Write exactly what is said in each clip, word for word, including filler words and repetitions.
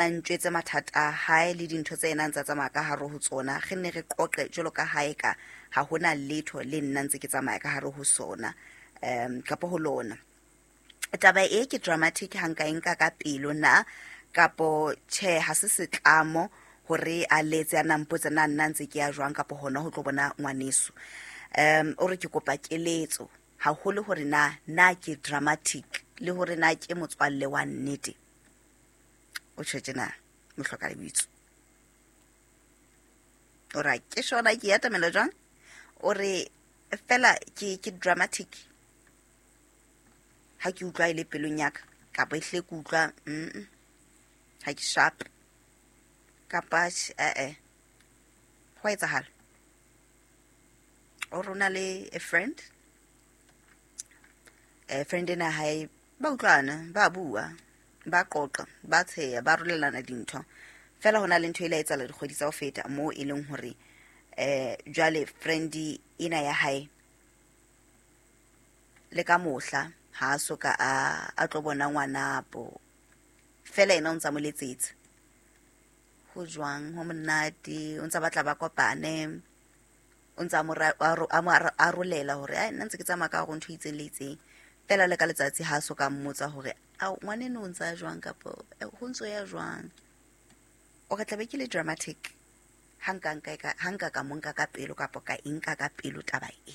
A ntjwetse mathata a hae le dintho tse ena ntsa tsamaya ka hare ho tsona. Re nne re qoqe jwalo ka ha eka ha hona letho le nna ntse ke tsamaya ka hare ho sona, um kapo ho lona. Taba e ke dramatic ha nka e nka ka pelo na, kapo tjhe ha se setlamo hore a letse a na mpotse na nna ntse ke ya jwang kapo hona ho tlo bona ngwaneso. Um o re ke kopa keletso haholo hore na na ke dramatic le hore na ke motswalle wa nnete. O tjho tjena mohloka lebitso. O re ke shona ke atamela jwang? O re fela ke ke dramatic ha ke utlwa e le pelong ya ka, kapa ehlile ke utlwa mm ha ke sharp kapa eh eh ho a etsahala. O re o na le a friend, eh friend ena hae ba utlwana, ba bua, ba qoqa, ba tsheya, ba rolelana dintho. Fela hona le ntho e ile ya etsahala dikgwedi tsa ho feta moo e leng hore eh jwale friend ena ya hae le ka mohla ha a soka a a tlo bona ngwanabo. Fela ena o ntsa mo letsetsa. Ho jwang, ho monate, o ntsa batla ba kopane. O ntsa mo a mo arolela hore ai nna ntse ke tsamaya ka hore ntho e itseng le itseng. Fela le ka letsatsi ha so ka mmotsa hore ao ngwaneno o ntsa jwang kapo ho ntso ya jwang. O re tlabe ke le dramatic ha nka nka ka ha nka ka mo nka ka pelo kapo ka e nka ka pelo taba e.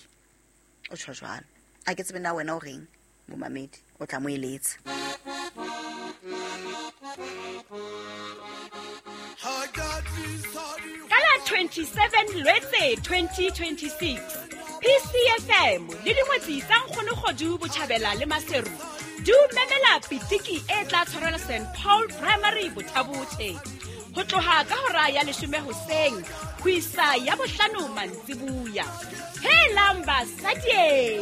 O tjho jwalo. A ke tsebe na wena o reng momamedi, o tla mo eletsa. Ka la twenty-seven Lwetse twenty twenty-six, P C F M le dingwetsi tsa Nkgono Kgodu Botjhabela le Maseru di o memela pitiki e tla tshwarelwa Saint Paul Primary Bothabothe ho tloha ka hora ya leshome hoseng ho isa ya bohlano mantsibuya. Helang basadi,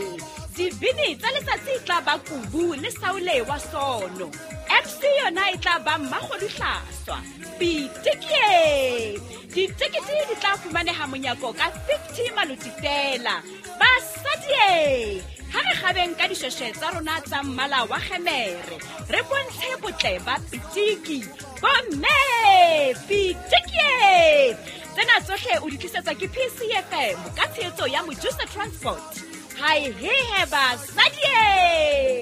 dibini tsa letsatsi tla ba Kubu le Saule wa Sono. M C yona e tla ba Mmakgodu Hlaswa. Pitiki! Ditekete di tla fumaneha monyako ka fifty maloti fela. Basadi, ha re kgabeng ka dishweshwe tsa rona tsa mmala wa kgemere, re bontshe botle ba pitiki. Bomme, pitiki! Tsena tsohle o di tlisetswa ke P C F M ka tshehetso ya Mojusa Transport. Hai he he basadi!